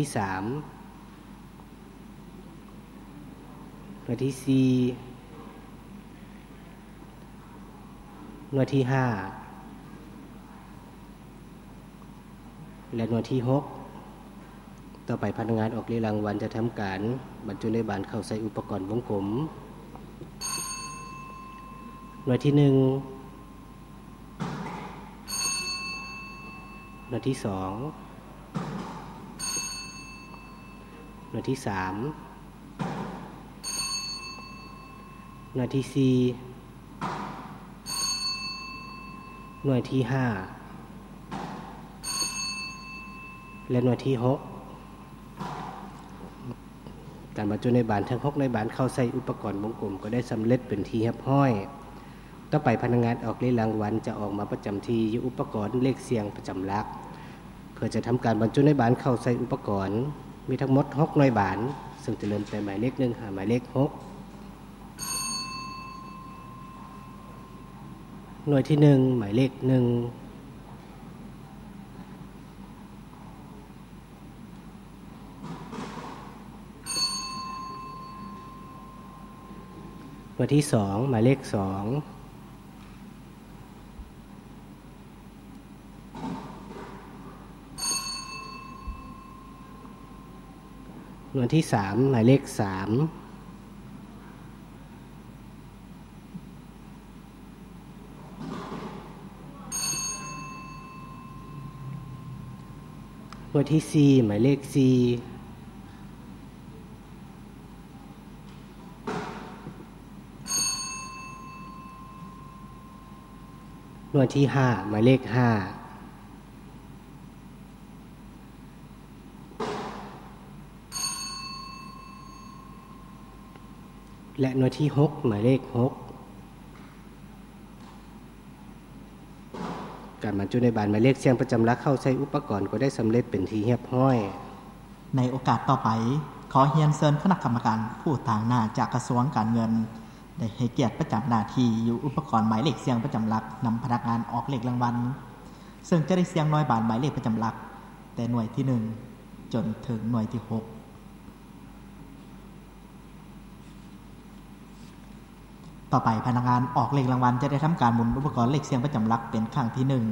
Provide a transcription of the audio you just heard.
ທີສາມ, ໜ່ວຍທີສີ່, ໜ່ວຍທີຫ້າ ແລະ ໜ່ວຍທີຫົກ. ຕໍ່ໄປພະນັກງານອອກເລກລາງວັນຈະທຳການບັນຈຸໃນບານເຂົ້າໃສ່ອຸປະກອນວົງກົມ. ໜ່ວຍທີໜຶ່ງ, ໜ່ວຍທີສອງ, ໜ່ວຍທີສາມ, ໜ່ວຍທີສີ່, ໜ່ວຍທີຫ້າ ແລະ ໜ່ວຍທີຫົກ. ການບັນຈຸໃນບານທັງຫົກໃນບານເຂົ້າໃສ່ອຸປະກອນວົງກົມກໍໄດ້ສຳເລັດເປັນທີ່ຮຽບຮ້ອຍ. ຕໍ່ໄປພະນັກງານອອກເລກລາງວັນຈະອອກມາປະຈຳທີ່ຢູ່ອຸປະກອນເລກສ່ຽງປະຈຳຫຼັກ ເພື່ອຈະທຳການບັນຈຸໃນບານເຂົ້າໃສ່ອຸປະກອນ. ມີທັງໝົດຫົກໜ່ວຍບານ, ເຊິ່ງຈະເລີ່ມແຕ່ໝາຍເລກໜຶ່ງຫາໝາຍເລກຫົກ. ໜ່ວຍທີໜຶ່ງ, ໝາຍເລກໜຶ່ງ. ໜ່ວຍທີສອງ, ໝາຍເລກສອງ. ໜ່ວຍທີສາມ, ໝາຍເລກສາມ. ໜ່ວຍທີສີ່, ໝາຍເລກສີ່. ໜ່ວຍທີຫ້າ, ໝາຍເລກຫ້າ. ແລະ ໜ່ວຍທີຫົກ, ໝາຍເລກຫົກ. ການບັນຈຸໃນບານໝາຍເລກສ່ຽງປະຈຳຫຼັກເຂົ້າໃສ່ອຸປະກອນກໍໄດ້ສຳເລັດເປັນທີ່ຮຽບຮ້ອຍ. ໃນໂອກາດຕໍ່ໄປ, ຂໍຮຽນເຊີນຄະນະກຳມະການຜູ້ຕາງໜ້າຈາກກະຊວງການເງິນ ໄດ້ໃຫ້ກຽດປະຈຳໜ້າທີ່ຢູ່ອຸປະກອນໝາຍເລກສ່ຽງປະຈຳຫຼັກນຳພະນັກງານອອກເລກລາງວັນ, ເຊິ່ງຈະໄດ້ສ່ຽງໜ່ວຍບານໝາຍເລກປະຈຳຫຼັກ ແຕ່ໜ່ວຍທີໜຶ່ງ ຈົນເຖິງໜ່ວຍທີຫົກ. ຕໍ່ໄປ, ພະນັກງານອອກເລກລາງວັນຈະໄດ້ທຳການໝູນອຸປະກອນເລກສ່ຽງປະຈຳຫຼັກເປັນຄັ້ງທີໜຶ່ງ